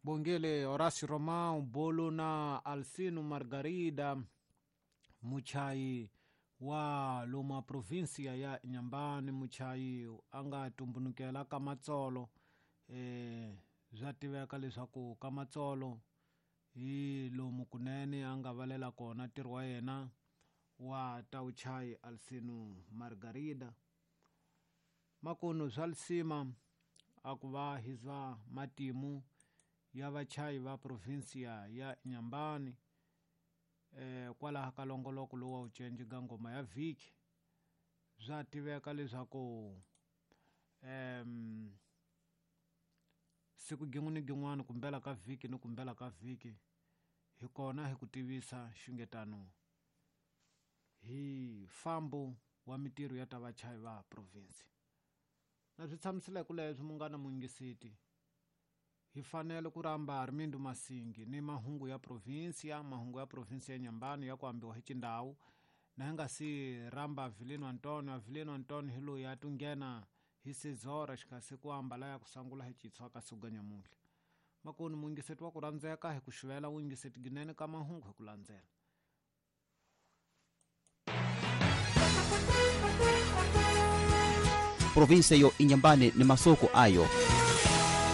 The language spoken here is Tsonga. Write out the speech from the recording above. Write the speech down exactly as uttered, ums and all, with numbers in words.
Bongele Horacio Romão Bolo na Alcino Margarida muchayi wa loma provinsia ya Inhambane, muchayi a nga tumbunukela ka Matsolo. Eh swa tiveka leswaku ka Matsolo hi lomu kunene a nga valela kona ntirho wa yena wa ta vuchayi Alcino Margarida. Makunu swa lisima a ku va hi zwa matimu ya vachayi va provinsia ya Inhambane eh kwalaho ka longoloko lowu wa vucenji ka ngoma ya vhiki. Swa tiveka leswaku em siku gin'we ni gin'wana kumbela ka vhiki ni kumbela ka vhiki hi kona hi ku tivisa xungetano hi fambo wa mitirho ya ta vachayi va provinsi. Na swi tshamisile ku leswi munghana muyingiseti hi fanele ku rhamba Armindo Masingi ni mahungu ya provinsia, mahungu ya provinsia ya Inhambane ya ku ambiwa hi xindhawu. Na hi nga si rhamba Avelino Antonio, Avelino Antonio hi loyi a tunghena hi sezora xikasi ku ambala ya ku sangula hi chitshwa ka siku ga nyamuntlha. Makunu muyingiseti wa ku rhandzeka hi ku xuvela wuyingiseti ginene ka mahungu hi ku landzela. Provinsia yo Inhambane ni masoko ayo.